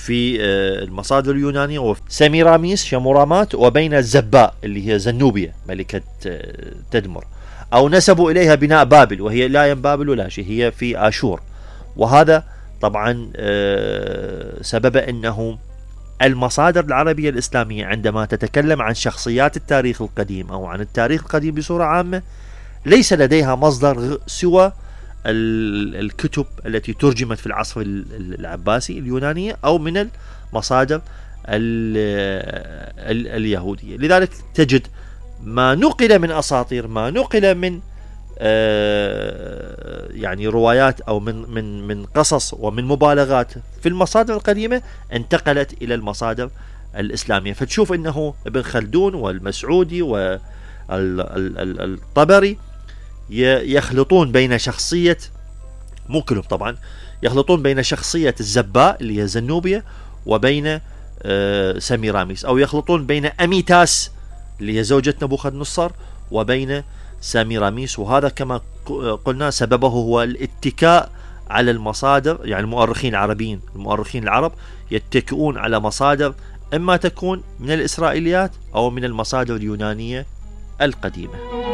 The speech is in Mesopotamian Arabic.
في المصادر اليونانية وفي سميراميس شمورامات، وبين زباء اللي هي زنوبيا ملكة تدمر، أو نسبوا إليها بناء بابل، وهي لا بابل ولا شيء، هي في آشور. وهذا طبعا سبب أنه المصادر العربية الإسلامية عندما تتكلم عن شخصيات التاريخ القديم أو عن التاريخ القديم بصورة عامة ليس لديها مصدر سوى الكتب التي ترجمت في العصر العباسي اليونانية أو من المصادر اليهودية. لذلك تجد ما نقل من أساطير، ما نقل من يعني روايات أو من قصص ومن مبالغات في المصادر القديمة انتقلت إلى المصادر الإسلامية. فتشوف أنه ابن خلدون والمسعودي والطبري يخلطون بين شخصية، مو كلهم طبعا، يخلطون بين شخصية الزباء اللي هي زنوبيا وبين سميراميس، أو يخلطون بين أميتاس اللي هي زوجة نبوخذ نصر وبين سميراميس. وهذا كما قلنا سببه هو الاتكاء على المصادر، يعني المؤرخين العربيين، المؤرخين العرب يتكئون على مصادر إما تكون من الإسرائيليات أو من المصادر اليونانية القديمة.